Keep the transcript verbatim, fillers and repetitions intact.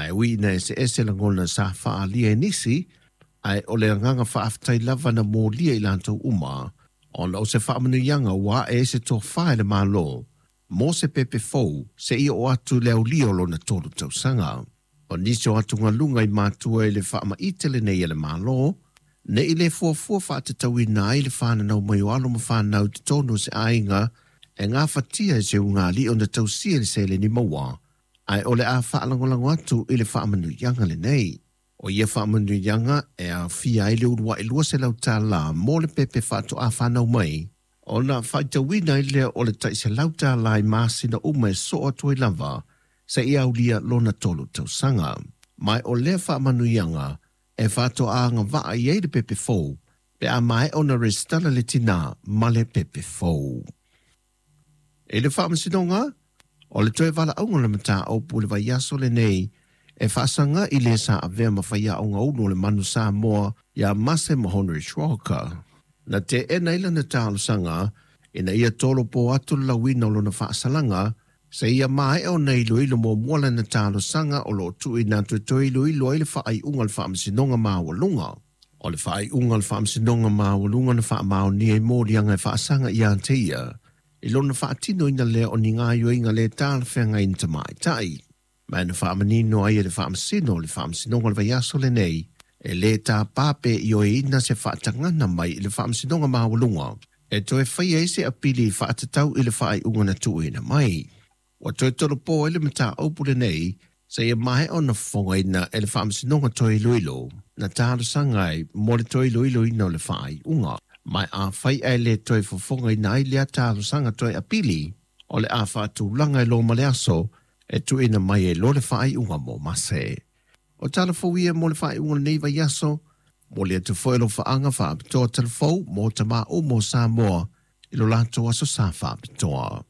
Ae ui ina eseese lagona sa faaalia e nisi, ae o le agaga faafetai lava na molia i latou uma, ona o se faamanuiaga ua ae ai se tofa i le Malo mo se pepe fou seia oo atu i le aulia o lona tolu tausaga. O nisi o atugaluga i matua i le faamaite lenei a le Malo, ne i le fuafua faatatauina ai le fananau mai o alo ma fanau i totonu o se aiga e gafatia e se ugali'i ona tausia i le seleni maua, ae o le a faalagolago atu i le faamanuiaga lenei. O ia faamanuiaga e aofia ai le uluai lua selau tālā mo le pepe faatoa fanau mai, ona faitauina ai lea o le tai selau tālā i masina uma e soo atu ai lava seia aulia lona tolu tausaga. Ma o lea faamanuiaga e faatoa agavaa i ai le pepe fou pe a maea ona resitala le tinā ma le pepe fou. I le faamasinoga, o le toe valaauga o le mataupu i le vaiaso lenei e faasaga i le sa avea ma faiaoga ulu o le Manu Samoa ia Mase Mahonri Walker. Na teena ai lana talosaga ina ia tolopo atu le lauina o lona faasalaga seia maea ona iloilo muamua lana talosaga o loo tuuina atu e toe iloilo ai le faaiuga a le Faamasinoga Maualuga. O le faaiuga a le Faamasinoga Maualuga na faamaonia i moliaga e faasaga ia te ia i lona faatinoina lea o ni gaoioiga le talafeagai i ni tamaitai. Ma na faamanino ai e le Faamasino o le Faamasinoga o le vaiaso lenei, e lē tapā pe ioeina se faatagana mai i le Faamasinoga Maualuga e toe faia ai se apili faatatau i le faaiuga na tuuina mai. Ua toe tolopo ai le mataupu lenei seia maea ona fofogaina e le Faamasinoga toe iloilo na talosaga ai mo le toe iloiloina o le faaiuga. Ma afai ae le toe fofogaina ai lea talosaga toe apili, o le a faatulaga e loa ma le aso e tuuina mai ai loa le faaiuga mo Mase. O tala fou ia mo le faaiuga o lenei vaiaso, momoli atu foi alofaaga faapitoa talafou mo tamā uma o Samoa i lo latou aso sa faapitoa.